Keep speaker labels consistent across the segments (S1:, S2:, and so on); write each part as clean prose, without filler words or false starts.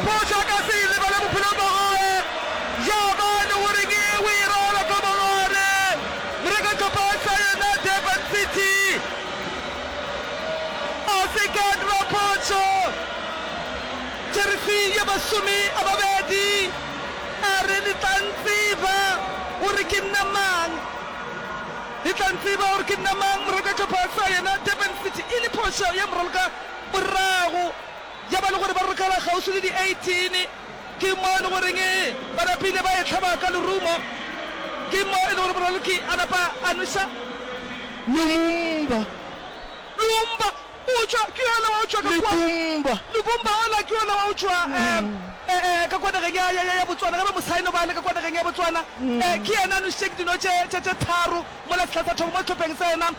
S1: phošo a ka se e lebale bophelong bja gagwe. Ya ba e le gore ke o e rwala ka mogare. Morekatšopa sa yona Durban City a se ke a dira phošo. Jeresi ya 20 a re le tla ntseba gore ke nna mang. Le tla ntseba gore ke nna mang. Morekatšopa sa yona Durban City e le phošo ya moraloka morago ya ba le gore ba rokela kgauswi le di 18, ke mo e le goreng ba napile ba e hlaba ka lerumo, ke mo e le gore moraloki a napa a nweša
S2: Lumumba.
S1: Lumumba o tšwa, ke yola wa go tšwa ka kua,
S2: Lubumba.
S1: Lubumba ola ke yola wa go tšwa ka kua nageng ya, ya, ya Botswana, ge ba mo saeno ba le ka kua nageng ya Botswana, ke yena a nwešitšeng dino tše, tše, tše tharo mola sehla sa thomo mo sehlopheng sa yena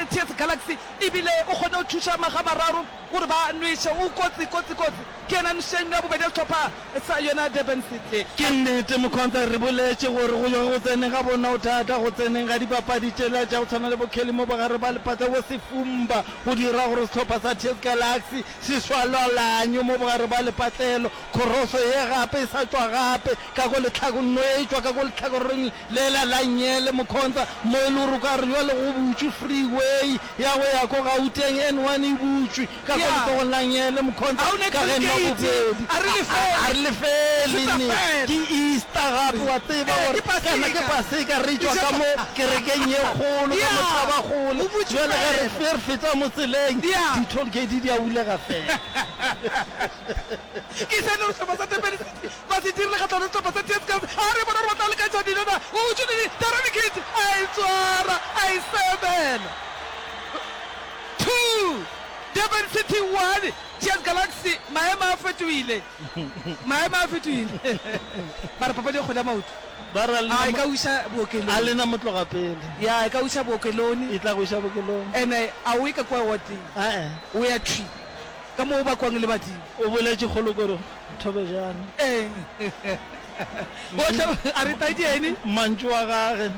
S1: TS Galaxy. E bile o kgonne go thuša makga a mararo gore ba nweše. O kotsi, kotsi, kotsi. Ke yena a nwešitšeng ya bobedi ya sehlopha sa yona Durban City.
S2: Ke nnete Mkhonza, re boletše gore go yo go tseneng ga bona o thata, go tseneng ga dipapadi tšela tša go tshwana le bo Kelly mo bogare ba lephatla bo Sefumba go dira gore sehlopha sa TS Galaxy se swalwalanywe mo bogare ba lepatlelo. Khoroso ye gape e sa tšwa gape ka ko lehlako, nno e tšwa ka ko lehlakoreng Lela la nngele, Mkhonza, mo e le gore o ka re bjale go butšwe freeway ya go ya ko Gauteng, N1 e butšwe ka ko letsogong la nngele, Mkhonza, ka ge nwa bobedi. A re lefele ne, ke Easter gape, wa tseba gore kana ke Paseka, re tšwa ka mo kerekeng ye kgolo, ka mo Thabakgole, bjale ge re feta mo tseleng, di-toll gate di a bulega fela.
S1: Ke se no sehlopha sa Durban City ba se dirile kgahlano le sehlopha sa TS Galaxy. A re bona gore ba tla lekantšha dilo na. O tšwelele Darren Kidd a e tswara a e semela. 2 Durban City 1 TS Galaxy. Maemo a fetohile. Maemo a fetohile. Ba re papadi ya kgwele ya maoto.
S2: Ba re a
S1: A e ka o iša bookelong.
S2: A lena motloga pele.
S1: Ya e ka o iša bookelong.
S2: E tla go iša bookelong.
S1: Ene a o ye ka kua warding.
S2: Ae.
S1: O ya thwi. Ka mo o bakwang le badimo.
S2: O boletše kgolokoro Thobejane.
S1: Ee. Bohle a re tadiene.
S2: Mantšu a gage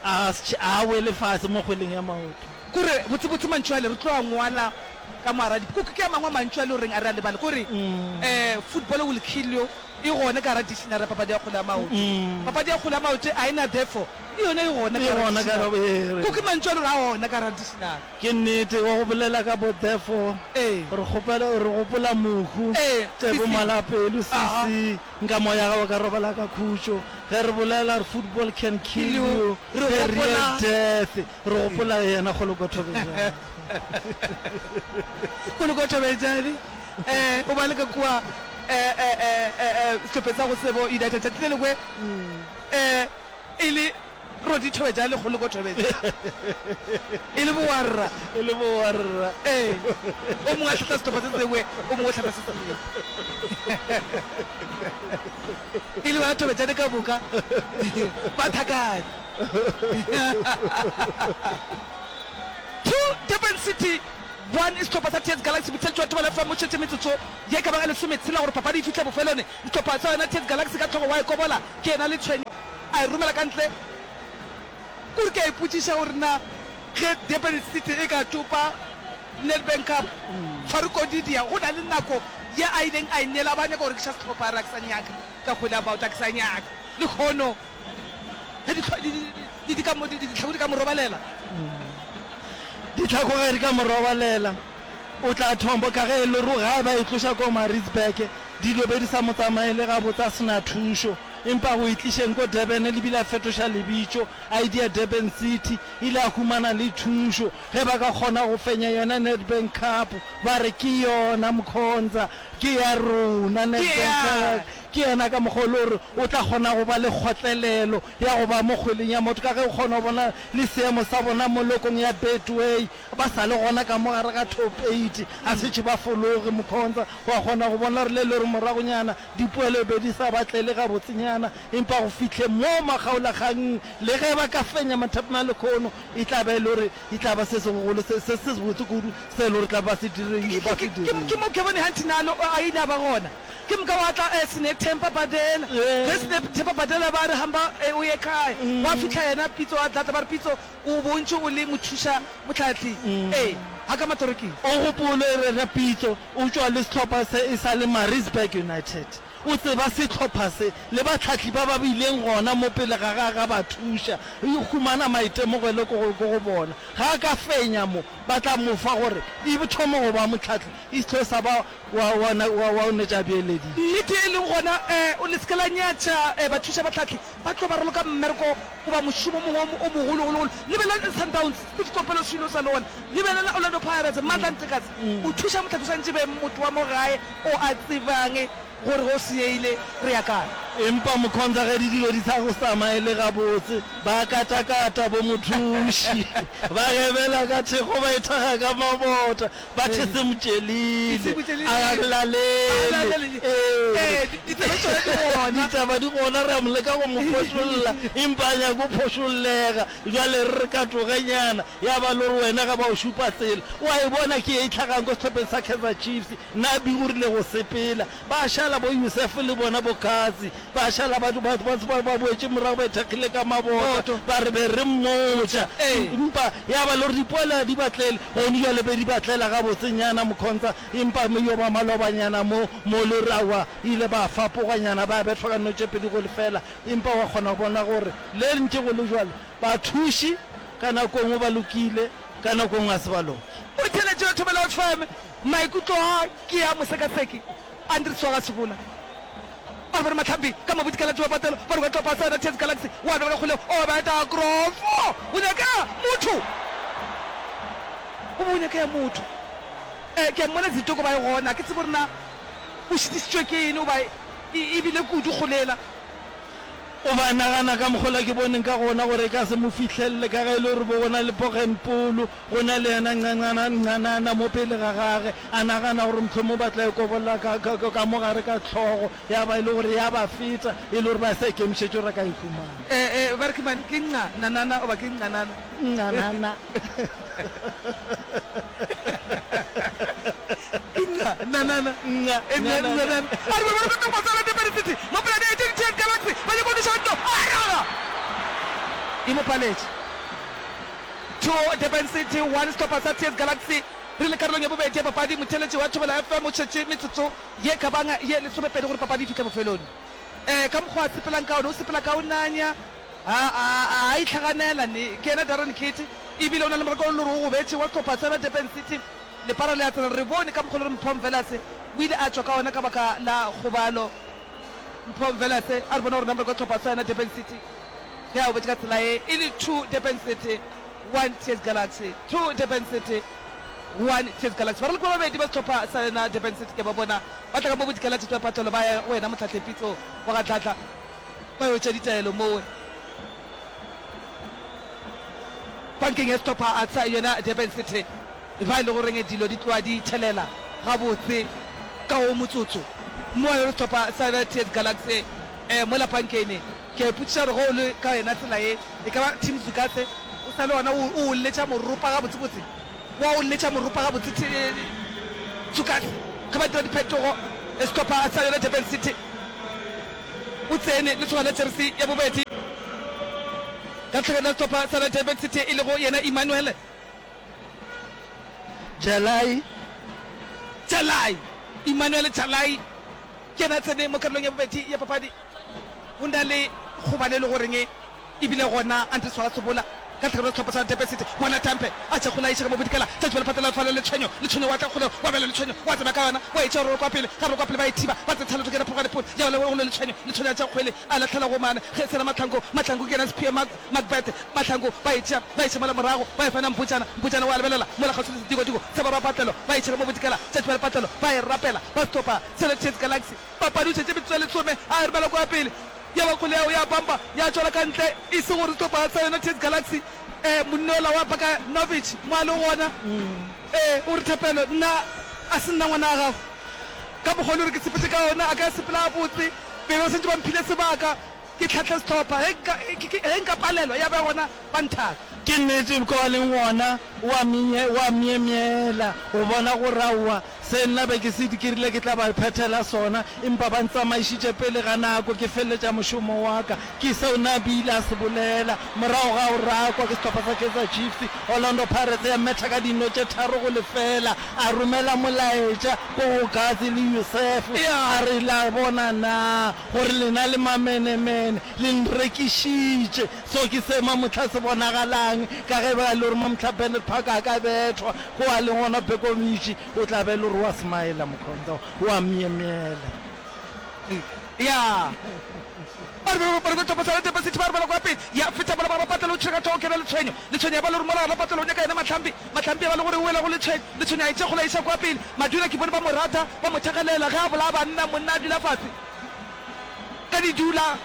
S2: a a wele fase mo kgweleng ya maoto.
S1: Kore botsebotse mantšu ale re tlo a ngwala ka mo gara dipuku. Ke a mangwe a mantšu a le goreng a re a lebale. Kore football will kill you e gona ka gara dictionary ya papadi ya kgwele ya maoto. Papadi ya kgwele ya maoto a e na therefore le yona e gona ka gara dictionary. Ko ke mantšu a le gore a gona ka gara dictionary.
S2: Ke nnete, wa go bolela ka bo therefore,
S1: Ee.
S2: re kgopela, re gopola mohu,
S1: Ee,
S2: Tsebo
S1: CC.
S2: Malapelo,
S1: Aha.
S2: CC, nka moya gago ka robala ka khutšo. Ge re bolela re football can kill
S1: Kill you,
S2: you,
S1: re
S2: the real
S1: gopola-
S2: death, re gopola yena Kgoloko Thobejane.
S1: Kgoloko Thobejane, eh, o ba le ka kua, eh, eh, eh, eh, eh, sehlopheng sa go Sebo United. Tšatši le lengwe, eh, e le Rodi Thobejane le Kgoloko Thobejane. E le bowarra.
S2: E le bowarra.
S1: Ee. O mongwe a hlahla sehlopha se sengwe, o mongwe o hlahla se sengwe. E le ba Thobejane ka moka ba thakane. 2 Durban City 1 Sehlopha sa TS Galaxy Botheletši wa Thobela FM o šetše metsotso ye ka bang e lesometshela gore papadi e fihle bofelong. Sehlopha sa yona TS Galaxy ka hlogo wa e kobola ke yena Letshwenyo. A e romela ka ntle. Kore ke a ipotšiša gore na ge Durban City e ka topa Nedbank Cup, Farouk Odidia go na le nako ye a ileng a e neela a ba a nyaka go rekiša sehlopha a re a ke sa nyaka tša kgwele ya maoto, a ke sa nyaka. Lehono ge ditlhako di ka mo robalela.
S2: Ditlhako ge di ka mo robalela, o tla thombo ka ge e le gore ga ba e tloša ko Maritzburg dilo be di sa mo tsamaele gabotse a se na thušo. Empa go e tlišeng ko Durban le bile a fetoša lebitšo a e dia Durban City, ile a humana le thušo ge ba ka kgona go fenya yona Nedbank Cup, ba re ke yona Mkhonza, ke ya rona Nedbank Cup. Ke yena ka mokgwa o le gore o tla kgona go ba le kgotlelelo ya go ba mo kgweleng ya maoto ka ge o kgona go bona le seemo sa bona mo lokong ya Betway ba sa le gona ka mo gare ga top eight, a šetše ba fologe Mkhonza, wa kgona go bona gore le le gore moragonyana Dipoelo e be di sa ba tlele gabotsenyana, empa go fihleng moo makgaolakganng, le ge ba ka fenya mathapama a lekhono, e tla ba e le gore e tla ba se segogolo, se, se, se sebotse kudu se e le gore tla ba se dirile, ba se
S1: Ke, ke,
S2: dirile.
S1: ke mo Kevin Hunt nalo a ile a ba gona. Ke moka gwa tla eh, Sinethemba Badela. Ge Sinethemba Badela ba re hamba eh, o ye kae, gwa fihla yena Pitso a tla tla ba re Pitso o bontše o le mothuša mohlahli. Ee. Ga ka matorokeng.
S2: O gopole re Pitso o tšwa le sehlopha se e sa le Maritzburg United. O tseba sehlopha se le bahlahli ba ba bileng gona mo pele ga gage a ba thuša. O humana maitemogelo ko go, ko go bona. Ga a ka fenya mo, ba tla mo fa gore e thome go ba mohlahli, e se tlo sa ba wa, wa, wa, wa o netša beeleditše.
S1: Nnete e leng gona, um le se ke la nyatša um bathuša bahlahli, ba tlo ba raloka mmereko goba mošomo o mongwe o mogologologolo. Lebelela Sundowns, Steve Komphela Swilo sa le gona. Lebelela Orlando Pirates, Mandla Ntsekatse. O thuša mohlahli o swanetše be motho wa mo gae o a tsebang gore ge o senyegile re ya kae.
S2: Empa Mkhonza ge di dilo di sa go tsamaele gabotse, ba katakata bo mothuši, ba gebela ka thekgo, ba ithaga ka mabota, ba the se motšelile, a ga lalele. Ee, ditaba di gona, re a mo leka go mo phošolla, empa a nyake go phošollega. Bjale re re katogenyana, ya ba le gore wena ge ba o šupa tsela, o a e bona ke ye e hlagang ko sehlopheng sa Kaizer Chiefs. Nabi o rile go sepela, ba šala bo Yusuf le bona bo Katsi, ba šala ba, ba, ba, ba, ba boetše morago ba ithekgile ka mabota, ba re be re mmotša. Empa ya ba le gore dipoelo ga di ba tlele, gone bjale be di ba tlela gabotsenyana Mkhonza, empa yo ba malobanyana mo, mo le gore aowa, ile ba fapoganyana, ba bethwa ka no tše 2-0. Empa wa kgona go bona gore le ntše go le bjalo, bathuši ka nako nngwe ba lokile, ka nako nngwe ga se ba loke.
S1: O theeletše yo Thobela FM. Maikutlo a ke a mosekaseki Andries wa ga Sebola. Ba re bone Mahlambi ka mabodikela tšoba patelo ba re kwa tlopa sa TS Galaxy wa bega kgolego o beta krofo o nyaka motho o be o nyaka ya motho eh ke a mmona Zitoko ba e gona ke tsebe gore na o šitišitšwe ke eng goba e bile kudu kgolela.
S2: O ba nagana ka mokgola ke boneng ka gona gore e ka se mo fihlelele ka ge e le gore bo go na le Poggenpoel, go na le yena Ncanana, Ncanana mo pele ga gage, a nagana gore mohlomong ba tla e kobolla ka, ka, ka mo gare ka hlogo, ya ba e le gore ya ba feta, e le gore ba sa ikemišetše gore a ka e humana.
S1: Eh, eh, ba re ke mang? Ke Nca, Nanana goba ke Ncanana?
S2: Ncanana.
S1: Nca, Nanana.
S2: Nca,
S1: Nanana. A re ba ba ba ba Durban City mo pela di TS Galaxy ba nyaka go noša nto a raga e mo paletše. 2 Durban City 1 sehlopha sa TS Galaxy re le karolong ya bobedi ya papadi. Motheeletši wa Thobela FM o šetše metsotso ye ka bang ye lesomepedi gore papadi e fihle bofelong. Eh, ka mokgwa a sepelang ka ona, o sepela ka o nanya, a, a, a, a itlhaganela ne. Ke yena Darren Keet, ebile o na le morako o le gore o gobetše wa sehlopha sa Durban City. Lepara le a tsena, re bone ka mokgwa le gore Mpho Mvelase o ile a tšwa ka ona ka baka la kgobalo. Mpho Mvelase a re bona gore na morako wa sehlopha sa yona Durban City ge a gobetše ka tsela ye e le 2 Durban City 1 TS Galaxy, 2 Durban City 1 TS Galaxy. Baraloki ba babedi ba sehlopha sa yona Durban City ke ba bona ba tla ka mo bodikela tšatši ba patlelo ba ya go yena Mohlahle Pitso wa ga Dladla ba yo tšea ditaelo mowe pankeng ya sehlopha sa yona Durban City. Ba e le goreng dilo di tloga di thelela gabotse ka wo motsotso mo e le sehlopha sa TS Galaxy mola pankeng. Ke a ipotšiša gore ge o le ka yona tsela ye, e ka ba Tim Zukatse o sa le gona o o letša moropa gabotsebotse? Wa o letša moropa gabotse Zukatse ge ba dira diphetogo? Sehlopha sa yona Durban City o tsene le tshwana jeresi ya bobedi ka tlhakeng la sehlopha sa Durban City e lego yena Emmanuel
S2: Jalai.
S1: Jalai, Emmanuel Jalai ke yena a tsene mo karolong ya bobedi ya papadi. Go na le kgobalo e le goreng e bile gona Andries wa Sebola ka tlhakelo ya sehlopha sa Durban City. Bona Tampe a tša kgole a iša ka mo bodikela tša tšwa lephatla la fala Letshwenyo. Letshwenyo wa tla kgole wa bjala Letshwenyo wa tsena ka yona wa e tšea roko wa pele ga roko wa pele ba e thiba ba tsena tshalo tokela phogane pole ya go le Letshwenyo. Letshwenyo a tša kgwele a lahlela go mane ge sena Mahlangu. Mahlangu ke yena Sphiwe Macbeth Mahlangu ba e tšea ba iša mola morago ba e fana Mpotšana. Mpotšana wa lebelela mola kgauswi le sedikodiko sa barwa Patlelo ba e tšhela mo bodikela tša tšwa lepatlelo ba e rapela ba stopa sele TS Galaxy. Papadi o šetše metsotso ya lesome a e romela kwa pele ya ba kgole yao ya pampa ya tšwela ka ntle e se gore sehlopha sa yona TS Galaxy eh monna ola wa Bakanovic mo a le gona eh o re Thapelo nna a se nna ngwana wa gago ka mokgwa o le gore ke sepetše ka ona a ka sepela gabotse be ba santše ba mphile sebaka Ke hlahle sehlopha, ge nka, ge nka palelwa, ya ba gona ba nthaka.
S2: Ke nnete ko a leng gona o a o a myemyela go bona gore aowa Se nna be ke se ke rile ke tla ba phethela sona, empa ba ntsamaišitše pele ga nako ke feleletša mošomo wa ka. Ke seo Nabi ile a se bolela morago ga go rakwa ke sehlopha sa Kaizer Chiefs. Orlando Pirates ya metha ka dino tše 3-0, a romela molaetša ko go Gazi le Youssef a re, La bona na gore lena le mamenemene, le nrekišitše. Seo ke se mamohla se bonagalang ka ge ba e le gore mamohla Bennett Park a ka bethwa ko a leng gona Bekovic o tla be e le gore wa smile Mkhonza wa myemyela.
S1: Ya. Ba re ba re ba sa Durban City ba re bala kwa pele. Ya feta bola ba ba patela o tšhega tho kena letshwenyo. Letshwenyo ya ba le gore mola gana patela o nyaka yena Mahlambi. Mahlambi ya ba le gore o wela go letshwenyo. Letshwenyo a e tše kgole a iša kwa pele. Madula ke bone ba mo rata, ba mo thakgalela ge a bolaya banna, monna a dula fase. Ka di dula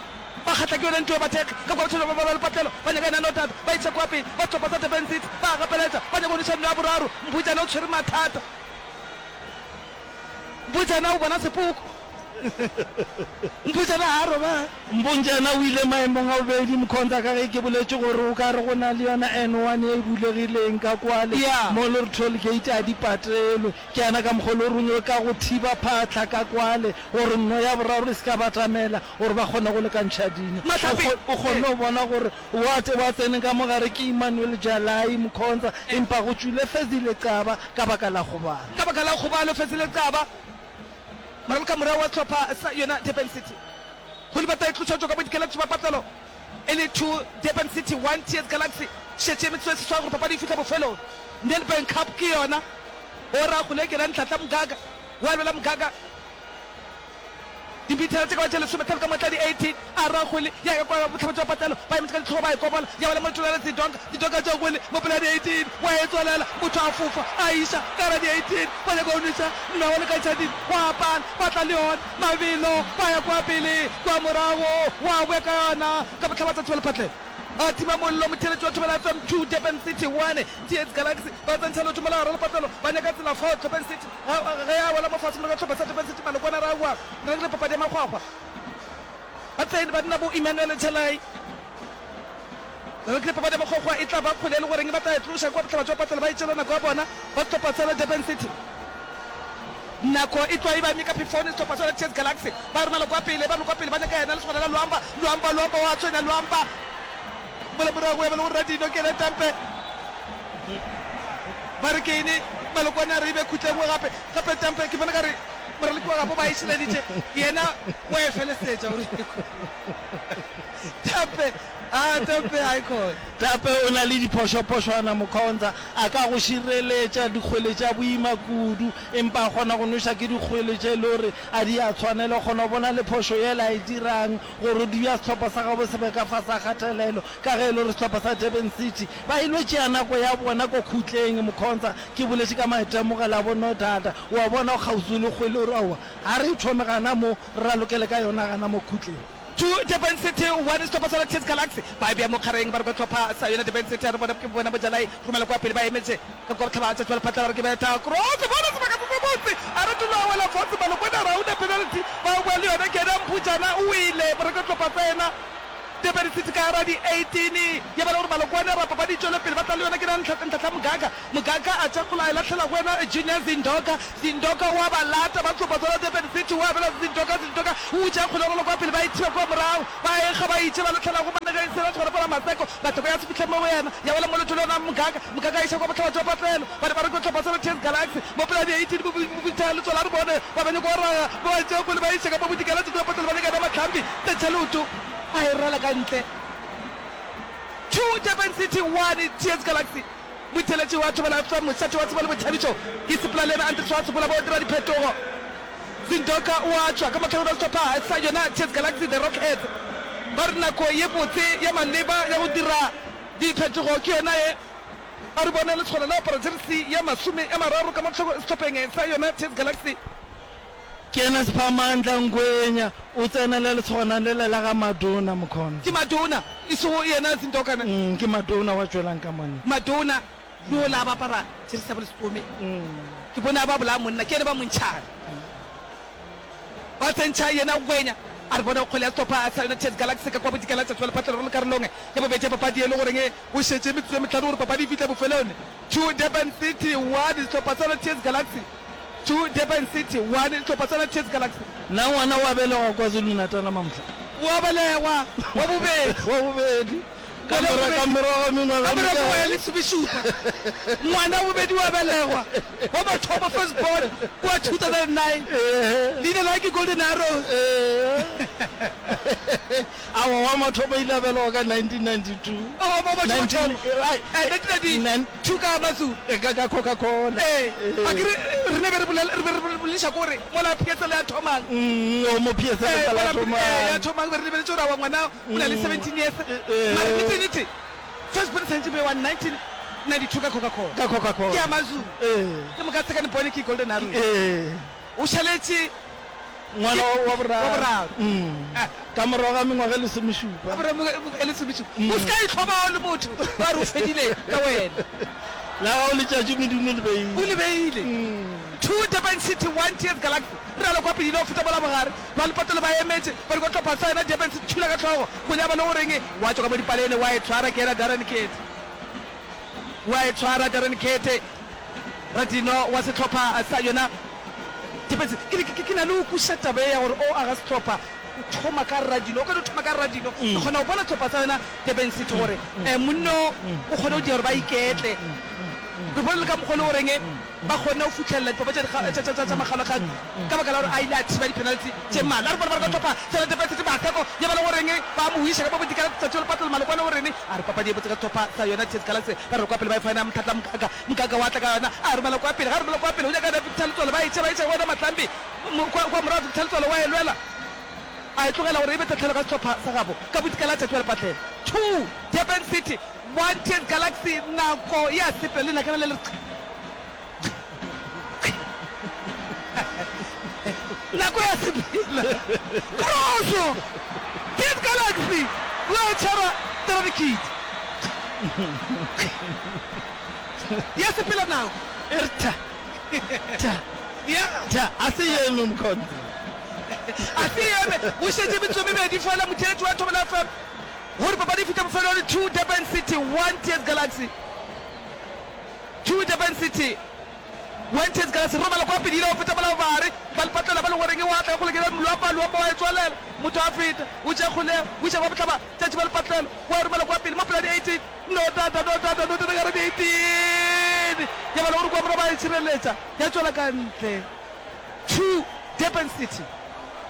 S1: ba kgatla ke yona ntwa ya bathekgi ka kwa batho ba ba le patlelo ba nyaka yena Notata ba iša kwa pele. Ba sehlopha sa Durban City ba a gapeletša ba nyaka go nweša nno ya boraro. Mbujana o tshwere mathata. Mbujana o bona sepoko. Mbujana ga a robale.
S2: Mbunjana o ile maemong a bobedi, Mkhonza, ka ge ke boletše gore o ka re go na le yona N1 ye e bulegileng ka kwale mo le gore toll gate a di patelwe. Ke yana ka mokgwa le gore o ka go thiba phahla ka kwale gore nno ya boraro e se ka batamela gore ba kgone go lekantšha dino. O kgonne go bona gore wa wa tseneng ka mo gare ke Emmanuel Jalai, Mkhonza, empa go tšwile Fezile Xaba ka baka la kgobalo.
S1: Ka baka la kgobalo Fezile Xaba. Moraloka morago wa sehlopha sa yona Durban City go lebata e tloša tšwa ka bodikela tšwa patlelo e le 2 Durban City 1 TS Galaxy. Šetše metsotso e seswai gore papadi e fihla bofelong. Nedbank Cup ke yona o ra go lekela Ntlhatla Mgaga wa lwela Mgaga Dimithara tše ka ba tše lesometlhano ka motla di 18 a ra kgwele ya ya kwa bohlaba jwa patlelo ba emetše ka ditlhogo ba e kobola ya wela mo letšolong la Zidonka Zidonka tša kgwele mo pele ga di 18 wa e tswalela motho a fofa a iša ka gara di 18 ba nyaka go nweša nnawa le ka tšhading gwa pala ba tla le yona mabelo ba ya kwa pele kwa morago wa boya ka yona ka bohlaba tsa thibela patlelo a tima mollo motheeletši wa Thobela FM 2 Durban City 1 TS Galaxy ba tsentšha leoto mola gare lepatlelo ba nyaka tsela fao Durban City Ge a wela mo fase morago ga sehlopha sa Durban City Malokwane ra wa re le papadi ya makgwakgwa. Ba tsene banna bo Emmanuel Chalai. Re le papadi ya makgwakgwa e tla ba kgwele e le goreng ba tla e tloša kwa bohlaba jwa patlelo ba e tšeela nako ya bona ba sehlopha sa Durban City. Nako e tloga e ba eme ka phefone sehlopha sa TS Galaxy ba romela kwa pele ba kwa pele ba nyaka yena lesogana la Luamba Luamba Luamba wa tshwenya Luamba mola morago ya ba le gore Radino ke yena Tampe Ba re ke eng? Malokwane a re e be khutla e nngwe gape. Gape Tampe ke bona ka re moraloki wa gabo ba e šileditše, yena wa e felesetša gore Tampe, a Tampe a e khona.
S2: Tampe o na le diphošophošwana Mkhonza, a ka go šireletša dikgwele tša boima kudu, empa a kgona go nweša ke dikgwele tše e le gore a di a tshwanela. O kgona go bona le phošo yela a e dirang gore di ya sehlopha sa gabo se be ka fase ga kgatelelo ka ge e le gore sehlopha sa Durban City Ba ilo tšea nako ya bona ko khutleng, Mkhonza. Ke boletše ka maitemogelo a bo Nodada. O a bona, o kgauswi le kgwele, o re, Aowa, ga re e thome gana mo, re ralokele ka yona gana mo khutleng.
S1: Two Durban City, one Sehlopha sa TS Galaxy ba e bea mo kgareng, ba re kwa hlopha sa yona Durban City, a re bona ke bona Bojalai romela kwa pele, ba emetše ka kwa bohlaba tšatši ba lephatla, ba re ke betha cross, bona sebaka se sebotse, a re tulo a wela fase, Malokwane a re ga una penalty, ba boa le yona ke yena Mphutšana o wele, ba re kwa hlopha sa yena. Durban City ka gara di 18 ya ba le gore Malokwane a rapa ba di tšwele pele ba tla le yona ke na Ntlhahla Mgaka Mgaka a tša kgola a e lahlela go yena Junior Zindoka Zindoka wa ba lata ba tlopa tsona Durban City wa bela Zindoka Zindoka o tša kgola rolo kwa pele ba e thiba kwa morago ba e kga ba itše ba lahlela go Manegeng Sera tshwara fela Maseko Mathoko ya se fihle mo go yena ya wela mo leotong la yona Mgaka Mgaka a iša kwa bohlaba jwa patlelo ba ne ba re ke hlopha sa TS Galaxy mo pela di 18 bo butha letswalo a re bone ba ba nyako raga ba ba tšea kgwele ba iša ka mo bodikela tšatši la patlelo ba nyaka yena Mahlambi Tletša leoto a e rala ka ntle. Two Durban City, one TS Galaxy. Motheeletši wa Thobela FM, mošate wa tsebo le boithabišo ke sepela le yena Andries wa Tshopola bo dira diphetogo. Zindoka o a tšwa ka mahlakoreng a sehlopha sa yona TS Galaxy The Rockheads. Ba re nako ye botse ya maleba ya go dira diphetogo ke yona ye. A re bone lesogana la apara jeresi ya 30 ka mo sehlopheng sa yona TS Galaxy.
S2: Ke yena Siphamandla Ngwenya, o tsenela lesogana lela la ga Madona, Mkhonza.
S1: Ke Madona, e sego yena Zindoka ne?
S2: Mm, ke Madona wa tšwelang ka monna.
S1: Madona, yola a ba apara jeresi ya bolesome. Ke bone a ba bolaya monna, ke yena ba mo ntšhang. Ba tsentšha yena Ngwenya. A re bone kgwele ya sehlopha sa yona TS Galaxy ka kwa bodikela tša tšwela phatlelo re le karolong ya bobedi ya papadi e le goreng go šetše metsotso e mehlano gore papadi e fihle bofelong. Two Durban City, one sehlopha sa yona TS Galaxy. 2 Durban City, 1 sehlopha sa TS Galaxy.
S2: Na ngwana o a belegwa KwaZulu-Natal mamhla?
S1: O a belegwa, wa bobedi.
S2: Wa bobedi. Ka mora, ka morago ga mengwaga
S1: Ka morago ga e lesomešupa. Ngwana wa bobedi o a belegwa, wa mathomo, first born, kua 2009. Leina la ke Golden Arrows.
S2: Aowa, wa mathomo o ile a belegwa ka 1992.
S1: Oh, wa mathomo-thomo. 1992 ka Amazulu.
S2: Ka, ka Coca-Cola.
S1: Ee, a ke re, re ne be re bolela, re be re bolediša ko gore mola PSL ya thomang.
S2: O mo PSL e sa la thomang.
S1: Ya thomang, be re lebeletše gore aowa ngwana o na le 17 years. Mara nnete, nnete, first born e swanetše be wa 1992 ka Coca-Cola.
S2: Ka Coca-Cola.
S1: Ke Amazulu. Ke moka second born ke Golden Arrows. O šaletše.
S2: Ngwana wa boraro.
S1: Wa boraro.
S2: Ka morago ga mengwaga e lesomešupa.
S1: Ka morago ga mengwaga e lesomešupa. O se ka itlhoba o le motho, ba re o fedile ka wena.
S2: La gago letšatši Modimo o le beile.
S1: O le beile. 2 Durban City, 1 TS Galaxy. Re ralo kwa pele, ile go feta mola bogare. Ba lepatelo ba emetše, ba re kwa hlopha sa yona Durban City thula ka hlogo. Go nyaba le go reng, wa tšwa ka mo dipalene, wa e tshwara ke yena Darren Kete. Wa e tshwara Darren Kete. Radino wa sehlopha sa yona Depetse. Ke, ke, ke na le go kwešiša taba ye ya gore o aga sehlopha, o thoma ka Radino. O ka no thoma ka Radino. Ke kgona go bona sehlopha sa yona Durban City gore um monno o kgone go dira gore ba iketle. Re bone le ka mokgwa o le goreng ba kgonne go fihlelela dipapadi tša, tša, tša, tša makgaolakgang ka baka la gore a ile a thiba di-penalty tše mmalwa. A re bone ba re ka hlopha sa yona Durban City Maseko ya ba le goreng ba mo wiša ka mo bodikela tšatši la Lepatlelo Malokwane goreng a re papadi e botse ka sehlopha sa yona TS Galaxy ba re kwa pele ba e fana Mtlhatla Mkaka Mkaka wa tla ka yona, a romela kwa pele. Ga a romela kwa pele, o nyaka Victor Letsoalo, ba e tšea, ba e tšea go yena Mahlambi. Kwa, kwa morago Victor Letsoalo wa e lwela, a e tlogela gore e be tahlelo ka sehlopha sa gabo. Ka bodikela tšatši wa lepatlelo. Two, Durban City, one, TS Galaxy, nako ya sepela, lenakana le le re qhi, qhi, qhi. Nako ya sepela. Kroso! TS Galaxy, wa e tshwara Terani Kid. Ya sepela nako.
S2: E re tha, tha,
S1: Ya.
S2: tha, a se eme Mkhonto.
S1: A se eme. Go šetše metsotso e mebedi fela motheeletši wa Thobela FM gore papadi e fihle bofelong. 2 Durban City, 1 TS Galaxy. 2 Durban City, 1 TS Galaxy. Romela kwa pele, ile go feta mola bobare. Ba lepatlela ba le goreng wa tla kgole ke Luampa, Luampa wa e tswalela. Motho a feta, o tšea kgolego, o iša kwa bohlaba. Tšatši ba lepatlelo, wa e romela kwa pele mo pela di 18. No tata, no tata, no tata ka re di 18. Ya ba le gore kwa morago ba e tšhireletša, ya tšwela ka ntle. 2 Durban City,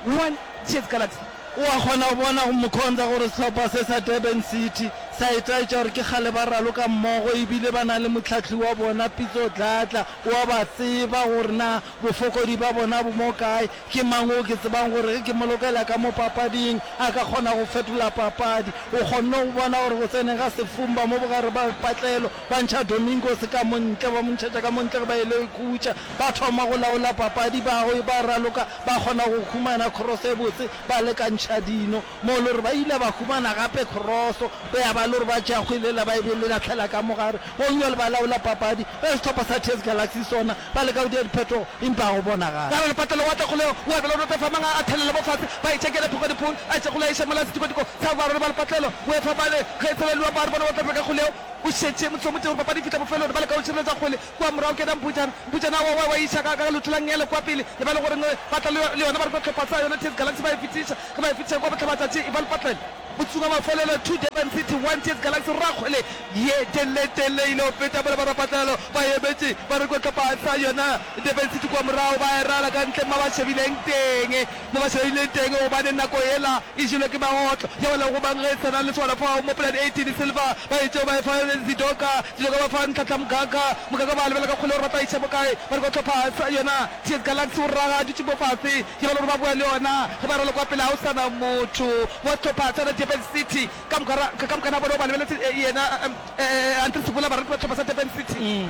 S1: 1 TS Galaxy.
S2: O a kgona go bona go Mkhonza gore sehlopha se sa Durban City sa itaetša gore ke kgale ba raloka mmogo ebile ba na le mohlahli wa bona Pitso Dladla. O a ba tseba gore na bofokodi ba bona bo mo kae. Ke mang o ke tsebang gore ge ke mo lokela ka mo papading a ka kgona go fetola papadi? O kgonne go bona gore go tseneng ga Sefumba mo bogare ba patlelo, ba ntšha Domingos ka mo ntle, ba mo ntšhetša ka mo ntle ge ba ile ikhutša. Ba thoma go laola papadi, ba ba raloka, ba kgona go humana cross e botse, ba lekantšha dino. Mo le gore ba ile ba humana gape cross, ya ba le gore ba tšea kgwele yela ba e be lahlela ka mo gare. Gomme ba laola papadi. Ge sehlopha sa TS Galaxy sona Ba leka go dira diphetogo, empa ga go bonagale.
S1: Ka re lepatelo wa tla kgolego, wa bela o noto fa mang a thelela mo fase, ba e tšekele phoko diphol, a tše kgole a iša mola setikodiko sa barwedi ba lepatlelo, o efa bale ge e tsheleliwa ba re bona ba tla reka kgolego, o šetše motsomotee gore papadi e fihla bofelong, ba leka go šireletša kgole kua morago ke yena Mputšana, Mputšana wa wa wa iša ka ka leoto la nngele kua pele, e ba le gore ba tla le le yona ba re hlopha sa yona TS Galaxy ba e fetiša, ge ba e fetiša kua bohlabatšatši e ba lepatlelo. Motsung wa mafelelo, 2 Durban City, 1 TS Galaxy, Rakgwele ye telletelle ile go feta mola barapatlelo ba emetše ba re hlopha sa yona Durban City kua morago ba e rala ka ntle mo ba shebileng teng mo ba shebileng teng gobane nako yela e jelwe ke magotlo ya wela go bang ge e sa na le swana fao mo plan 18 Silva ba e tšeo ba e fa Zidoka Zidoka ba fa Ntlhatla Mokaka Mokaka ba lebela ka kgole gore ba tla iša mo kae ba re hlopha sa yona TS Galaxy o raga a dutše mo fase Ke ba le gore ba boa le yona ge ba raloka kwa pele ga o sa na motho wa sehlopha sa Durban City. Ka moka ra, ka moka na bona o ba lebeletse yena Andre Sebola baraloki ba sehlopha sa Durban City.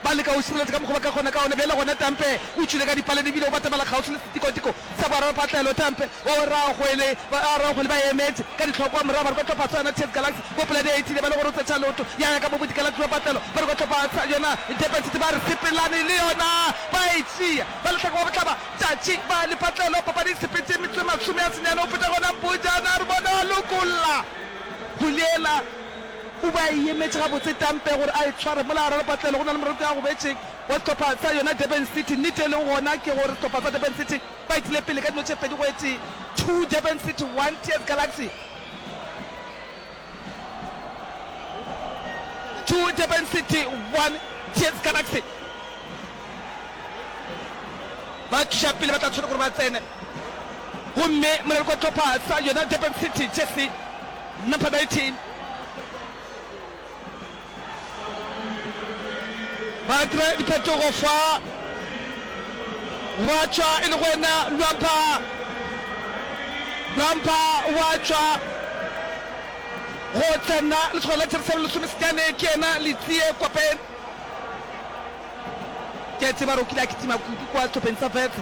S1: Ba leka go šireletša ka mokgwa ba ka kgona ka gona. Bjale gona Tampe o tšwile ka dipalene ebile o batamela kgauswi le setikotiko sa boralophatlelo. Tampe o ragwele, ba ragwele ba emetše ka dihlokwa morago ba re kwa hlopha sa yona TS Galaxy mo pela di 18 ba le gore o tsetša leoto ya ya ka mo bodikela tšwa patlelo ba re kwa hlopha sa yona Durban City ba re sepelane le yona ba e tšea. Ba lehlaka wa bohlaba tšatši ba lepatlelo papadi e sepetše metsotso e 90 go feta gona Mpujana re bone a lokolla Huliela o be a e emetše gabotse Tampe gore a e tshware mola gare lepatlelo go na le moraloki a gobetšeng. wa sehlopha sa yona Durban City. Nnete e leng gona ke gore sehlopha sa Durban City ba etile pele ka dino tše 2 go e tee, 2 Durban City, 1 TS Galaxy. 2 Durban City, 1 TS Galaxy. Ba tliša pele ba tla tshwanela gore ba tsene. Gomme moleloko wa sehlopha sa yona Durban City, jersey number 19. Ba dira diphetogo fa gwa tšwa e le go yena Lwampa. Lwampa wa tšwa go tsena letshwao la Jerusalem lesomesenyane ke yena Letsie Kwapeng. Ke a tseba gore o kile a kitima kudu kwa sehlopheng sa Wits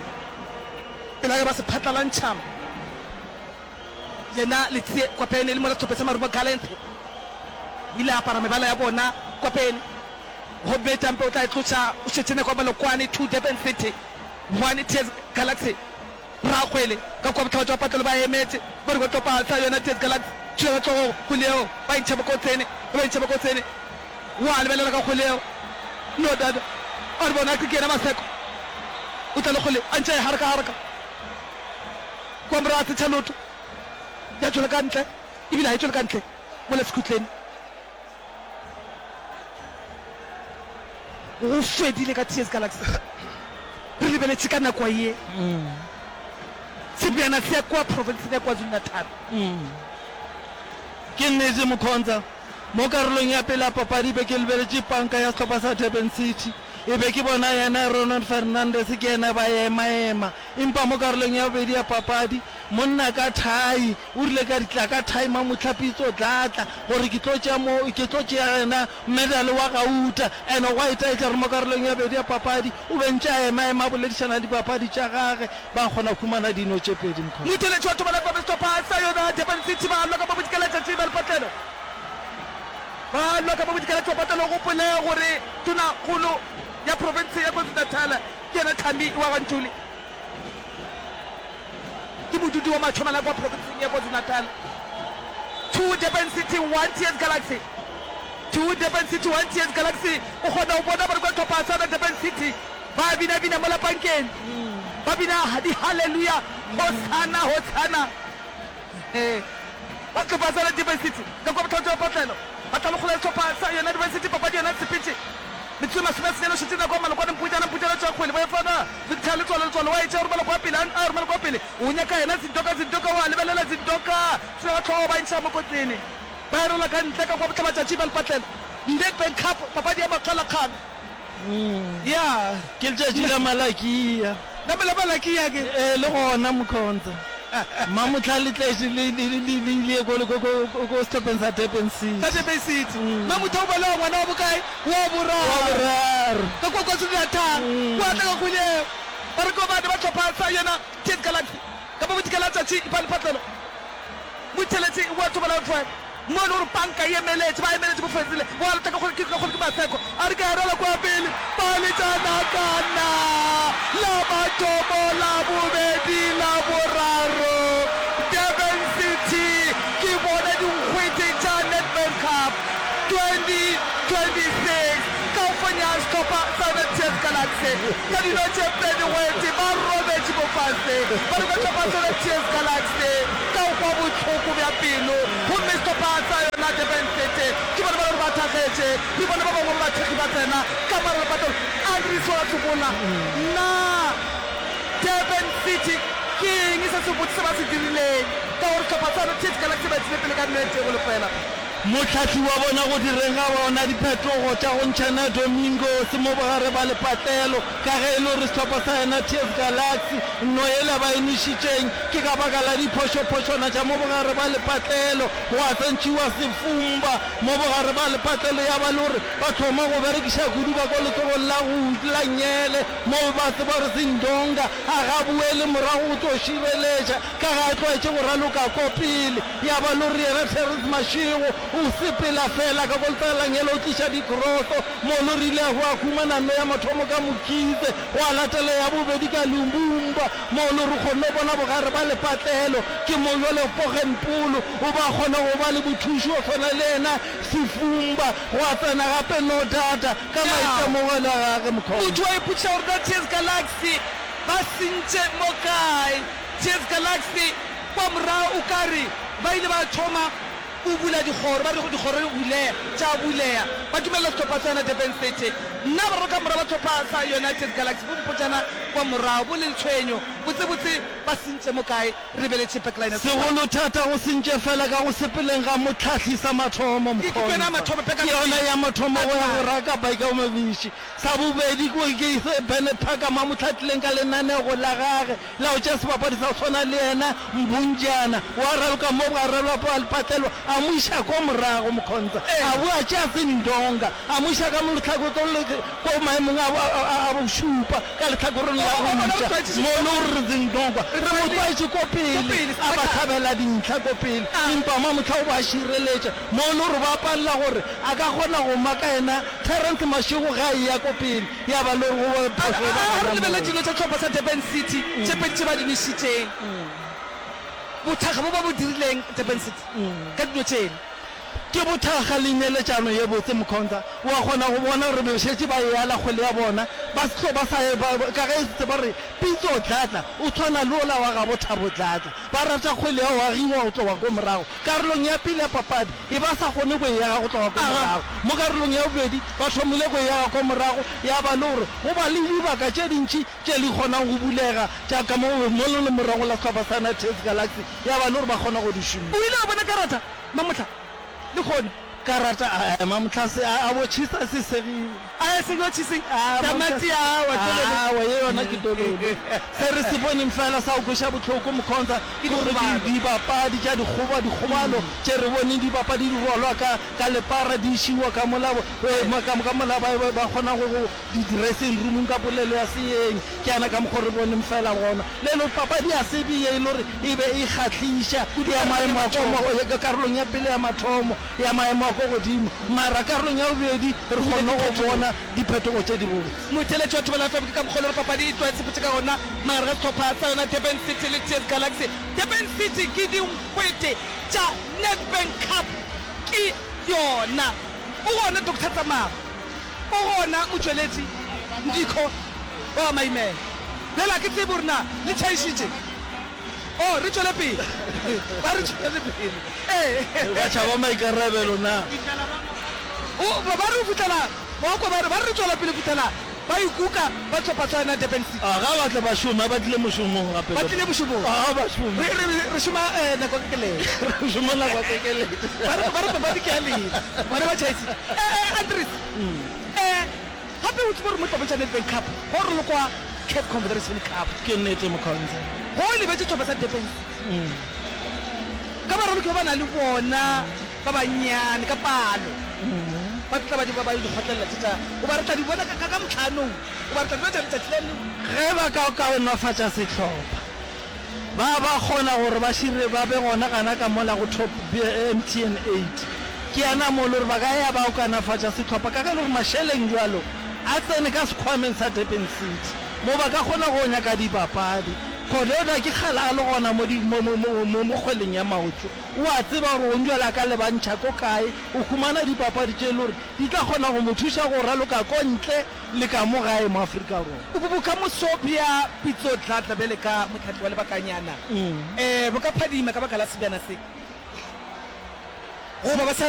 S1: pele a ge ba se phatlalantšha. Yena Letsie Kwapene le mola sehlopha sa Marumo Gallants o ile a apara mebala ya bona. Kwapene gomme Tampe o tla e tloša o šetše nako ya Malokwane 2 Durban City 1 TS Galaxy. Rakgwele ka kua bohlaba jwa patlelo ba emetše ba re ba tlo pasa yona TS Galaxy. Tšhila ka hlogo kgwele yeo ba e ntšha mokotsene ba e ntšha mokotsene wa lebelela ka kgwele yeo no dada a re bona ke yena Maseko o tla le kgwele a ntše a e haraka haraka. Kwa morago a tsetšha loto ya tšwela ka ntle, ebile ga e tšwele ka ntle mola sekhutleng. Go fedile ka TS Galaxy. Re lebeletše ka nako ye sebjana se ya kua profenseng ya KwaZulu-Natal.
S2: Ke nnete Mkhonza, mo karolong ya pele ya papadi be ke lebeletše panka ya sehlopha sa Durban City. E be ke bona yena Ronan Fernandes ke yena ba ema-ema. Empa mo karolong ya bobedi ya papadi, monna ka thai o rile ka ditla ka thai Mamohlapitso Dladla gore ke tlo tšea mo ke tlo tšea yena medal wa gauta. Ene gwa itaetša gore mo karolong ya bobedi ya papadi o be ntše a ema-ema a boledišana le dibapadi tša gage ba kgona humana dino tše pedi. Mkhonto.
S1: Motheeletši wa Thobela FM sehlopha sa yona Durban City ba lwa ka mo bodikelatšatši ba lepatlelo. Ba lwa ka mo bodikelatši ba patlelo. Gopole gore Tonakgolo ya profense ya KwaZulu-Natal ke yena Thami wa ga Ntuli. Ke modudi wa Matšhomela kwa profenseng ya KwaZulu-Natal. 2 Durban City 1 TS Galaxy 2 Durban City 1 TS Galaxy O kgona go bona gore kwa sehlopha sa Durban City ba bina-bina mola pankeng, ba bina di-hallelujah, Hosanna, Hosanna. Ee, ba sehlopha sa Durban City ka kua bohlabetši bja patlelo ba tla lekgola sehlopha sa yona Durban City papadi yona sepetše metsotso e masomesenyane o šetše nako ya malokwane Mputšana Mputšana tšwa kgwele ba e fana Victor Letsoalo Letsoalo wa e tšea o romela kwa pele a romela kwa pele o nyaka yena Zindoka Zindoka wa lebelela Zindoka tšwa hlogo ba e ntšha mokotleng ba e rola ka ntle ka kua bohlabatšatši ba lepatlelo Nedbank Cup papadi ya makgalakgang Ya.
S2: Ke letšatši la Malakia.
S1: La la Malakia ke.
S2: Ee, le gona Mkhonza. Mamohla le tletše le le le le ile ko ko ko ko sehlopheng sa Durban City.
S1: Sa Durban City. Mamotha o balewa ngwana wa bokae? Wa boraro.
S2: Wa boraro.
S1: Ka kwa KwaZulu-Natal. Wa tla ka kgwele eo. Ba re ko bane ba hlopha sa yona TS Galaxy. Ka mo bodikela tšatši ba lepatlelo. Motheeletši wa Thobela FM. Mo e le gore panka e emeletše, ba emeletše bofetsile, wa leta ka kgole, ke ka kgole ke Maseko, a re ke a rwala kua pele, ba letša nakana la mathomo, la bobedi, la boraro. Durban City ke bona dinkgwete tša Nedbank Cup 2026 ka go fenya sehlopha sa yona TS Galaxy ka dino tše 2-1. Ba robetše mo fase ba re ka sehlopha sa yona TS Galaxy ka go kwa bohloko bja pelo gomme sehlopha sa yona Durban City ke bona ba le gore ba thakgetše. Re bone ba bangwe ba bathekgi ba tsena ka morago lepatong. Andries wa tsopola, Na Durban City ke eng se sebotse se ba se dirileng ka gore sehlopha sa yona TS Galaxy ba etile pele ka nnete go lefela?
S2: Mohlahli wa bona go direng ga bona diphetogo tša go ntšhana Domingos mo bogare ba lepatlelo ka ge e le gore sehlopha sa yona TS Galaxy nno yela ba e nwešitšeng ke ka baka la diphošophošwana tša mo bogare ba lepatlelo gwa tsentšhiwa sefumba mo bogare ba lepatlelo ya ba le gore ba thoma go berekiša kudu ka ko letsogong la go la nngele mo ba tseba gore Sindonga a ga boele morago go tlo šireletša ka ge a tlwaetše go raloka ko pele. Ya ba lore yena Terrence Mashego O sepela feela ka ko letsalang o tliša dikroso. Mono re ile gwa humana nno ya mathomo ka Mokhize, gwa latela ya bobedi ka Lumbumba. Mono re kgonne go bona bogare ba lepatlelo. Ke mo bjale Poggenpoel o ba kgona go ba le mothuši wa swana le yena Sifumba. Gwa tsena gape Nodada ka maitemogelo a gage Mkhonza.
S1: Motho wa ipotšiša gore na TS Galaxy ba sentše mo kae. TS Galaxy kwa morago o ka re ba ile ba thoma go bula dikgoro, ba re dikgoro di buleya, tša buleya, ba dumelela sehlopha sa yona Durban City. Nna baraloka morago ba sehlopha sa yona TS Galaxy bo mpotšana kwa morago, bo le letshwenyo, botsebotse ba sentše mo kae, re lebeletše backline ya sehlopha.
S2: Segolo thata go sentše fela ka go sepeleng ga mohlahli sa mathomo,
S1: Ke ke yona ya
S2: Mkhonza.
S1: mathomo,
S2: Ke yona ya mathomo go ya go raka Baikaomabiši. Sa bobedi ke se Bernard Phakama a mo hlahlileng ka lenanego la gage la go tšea sebapadi sa go swana le yena, Mbunjana, wa raloka mo bogare bja lepatlelo, a mo iša ko morago, Mkhonza a boa a tšea Sindonga, a mo iša ka mo lehlakoreng ko maemong a bošupa ka lehlakoreng la go ja, mo le gore Zindongwa re mo tlwaetše ko pele, a ba hlabela dintlha ko pele, empa mamohla o ba šireletša, mo le gore ba palela gore a ka kgona go maka yena Terrence Mashego ge a eya ko pele. Ya ba le gore go phošo e ba
S1: A re
S2: gona
S1: lebelele
S2: moo.
S1: dino tša sehlopha sa Durban City tše pedi tše ba di nwešitšeng. Bothakga bo ba bo dirileng Durban City ka dino tšela.
S2: Ke bothakga le neeletšano ye botse Mkhonza. Wa kgona go bona gore be šetše ba e ala kgwele ya bona. Ba se tlo ba sa e ba ka ge se ba re Pitso Dladla o tshwana le ola wa gabo Thabo Dladla. Ba rata kgwele ya go agiwa go tloga ko morago. Karolong ya pele ya papadi e ba sa kgone go e aga go tloga ko morago. Mo karolong ya bobedi ba thomile go e aga ko morago, ya ba le gore go ba le dibaka tše dintši tše di kgonang go bulega tša ka mo mo le morago la sehlopha sa TS Galaxy, ya ba le gore ba kgona go di šomiša.
S1: O ile a bona karata Mamohla lehono.
S2: Karata a Mamohla se a bo tšhisa se segile.
S1: A se yo tšhiseng tamati awa tololo.
S2: Awa ye yona ke tololo. Se re se boneng fela sa go kweša bohloko Mkhonza ke gore dibapadi tša dikgoba dikgobalo tše re boneng dibapadi di rwalwa ka ka lepara di išiwa ka mola ka ka mola ba ba kgona go go di dressing roomong ka polelo ya seeng ke yana ka mokgo re boneng fela gona le le papadi ya se be ye e le gore e be e kgahliša ya maemo a ko karolong ya pele ya mathomo ya maemo a ko godimo, mara karolong ya bobedi re kgonne go bona diphetogo tše dibotse.
S1: Motheeletši wa Thobela FM ke ka mokgwa o le gore papadi e tloga e sepetše ka gona magareng ga sehlopha sa yona Durban City le TS Galaxy. Durban City ke dinkgwete tša Nedbank Cup ke yona. O gona Doctor Tsamao, o gona motšweletši Ndikho wa Maimela. Bjale ga ke tsebe gore na le tšhaišitše. Oh, re tšwele pele. Ba re tšwele pele. Ee.
S2: Ba tšhaba maikarabelo na?
S1: O, ba re go fihlela, ba kwa ba re, ba re re tšwela pele go fihlela ba ikuka ba hlopha sa yona Durban City.
S2: A ga ba tle ba šome, ba tlile mošomong gape.
S1: Ba tlile mošomong.
S2: A ga ba šome.
S1: Re, re, re šoma eh, nako e telele.
S2: Re šoma nako e telele.
S1: Ba re, ba re papadi ke ya lena. Bona ba tšhaisitše. Eh, eh, Andries. Eh, Gape o tsebe gore mo dipapadi tša Nedbank Cup go ralokwa Caf Confederation Cup.
S2: Ke nnete Mkhonza.
S1: Go lebetše sehlopha sa Durban City ka baraloki ba ba na le bona ba bannyane ka palo ba tla ba ba di kgotlelela tše tša goba re tla di bona ka ka motlhanong goba re tla di bona tša letšatši la neng.
S2: Ge ba ka kaonafatša sehlopha Ba ba kgona gore ba šire ba be gona gana ka mola go Top MTN eight. Ke yana mo le gore ba ka ya ba okanafatša sehlopha ka ge le gore mašeleng bjalo a tsene ka sekhwameng sa Durban City mo ba ka kgona go nyaka dibapadi. Khododa ke kgale a le gona mo di mo mo mo mo kgweleng ya maoto. O a tseba gore gong bjale a ka lebantšha ko kae. O humana dipapadi tše e le gore di tla kgona go mo thuša go raloka ko ntle Le ka mo gae mo Afrika Borwa.
S1: Bokamoso bja Pitso Dladla bjale ka mohlahli wa lebakanyana bo ka phadima ka baka la sebjana se goba ba sa.